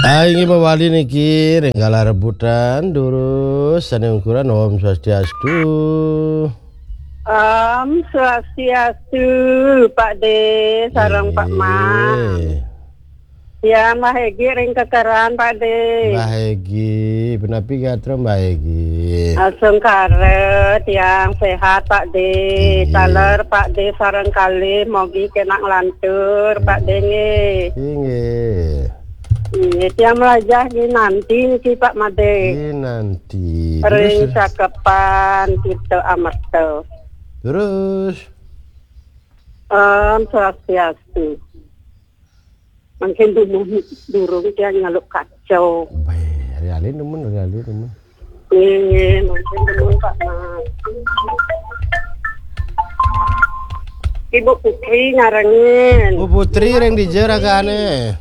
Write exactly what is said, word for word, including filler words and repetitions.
Inggih mawali niki ring galah rebutan, durus sane ungkuran Om Swastiastu. Om Swastiastu, Pak De, sareng Pak Man. Inggih. Ya, Mbah Egi ring kekeran, Pak De. Mbah Egi, punapi gatra Mbah Egi? Asung kara, tiang sehat, Pak De. Inggih. Taler, Pak De, sareng kalih, mogi kenak lantur, Pak De, nggih. Inggih. Inggih, tiang mlajah Ginanti niki, Pak Made. Ginanti. Ring Terus, Cakepan Tirta Amerta. Terus? Om Swastiastu. Mungkin durung, durung tiang ngaluk kacau. Baik, hari alin demen, hari alin demen. Nggih, nggih, mungkin demen, Pak Mas. Ibu Putri nyarengin. Bu Putri ring dija ragane?